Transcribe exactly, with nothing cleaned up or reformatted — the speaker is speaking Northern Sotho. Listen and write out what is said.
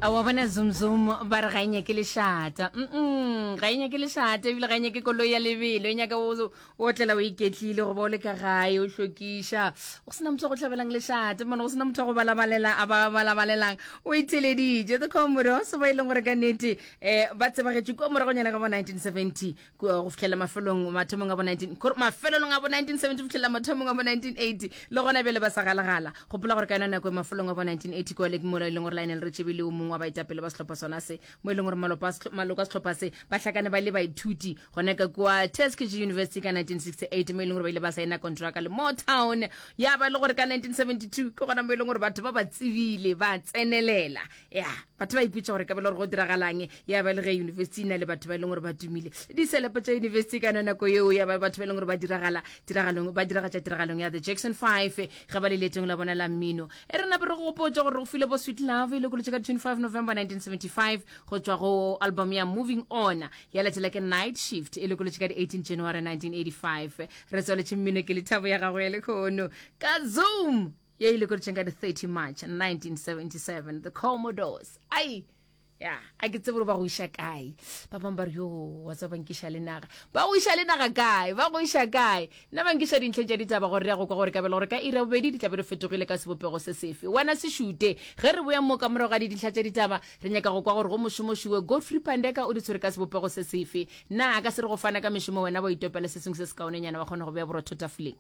A wa bona zoom zoom ba re ga e nyake lešata. Mm ga e nyake lešata ebile ga e nyake koloi ya lebelo, e nyaka o o otlela o iketlile goba o le ka gae o hlokiša. Go sena motho wa go hlabelang lešata, mone go sena motho wa go balabalela a ba balabalelang. O itheleditše The Commodores ba e leng gore ka nnete eh ba tsebagetše kua moragonyana ga bo nineteen seventy kua go fihlela mafelong mathomong a bo nineteen kore mafelelong a bo nineteen seventy go fihlela mathomong a bo nineteen eighty le gona bjale ba sa galagala. Gopola gore ka yona nako e mafelong a bo nineteen eighty kua le mola e leng gore Lionel Richie e le o mongwe wa baetapele ba sehlopha sona se, mo e leng gore maloko a maloko a sehlopha se ba hlakane ba le baithuti gona ka kua Tuskegee University ka nineteen sixty eight, mo e leng gore ba ile ba saena kontraka le Motown. Ya ba e le gore ka nineteen seventy two ke gona mo e leng gore batho ba ba tsebile ba tsenelela, ya batho ba ipotša gore ka bele gore go diragalang. Ya ba le ge university e na le batho ba e leng gore ba tumile, diselepo tša university ka yona nako yeo ya ba batho ba e leng gore ba diragala tiragalong, ba diragatša tiragalong ya The Jackson Five ge ba le leetong la bona la mmino. E re nape re go gopotša gore re go file bo Sweet Love e lokolotše ka twenty five November nineteen seventy five go tšwa go album ya Moving On, ya latela ke Night Shift e lokolotše ka di eighteen January nineteen eighty five. Re tswaletše mmino ke lethabo ya gago ya lekhono ka Zoom ye e lokolotšeng ka di thirty March nineteen seventy seven, The Commodores. Ai ya, a ke tsebe gore ba go iša kae. Ba bangwe ba re yo wa tseba ba nkiša le naga, ba go iša le naga kae, ba go iša kae. Nna ba nkiša dintlheng tša ditaba gore re ya go kwa gore kabelo gore ka iri ya bobedi di tla be di fetogile ka sebopego se sefe. Wena se šute ge re boya mo ka morago ga dintlha tša ditaba, re nyaka go kwa gore go mošomošowe Godfrey Pandeka o di tshwere ka sebopego se sefe. Na a ka se re go fana ka mešomo wena wa itopela se sengwe se sekaonenyana wa kgona go bea borotho tafoleng?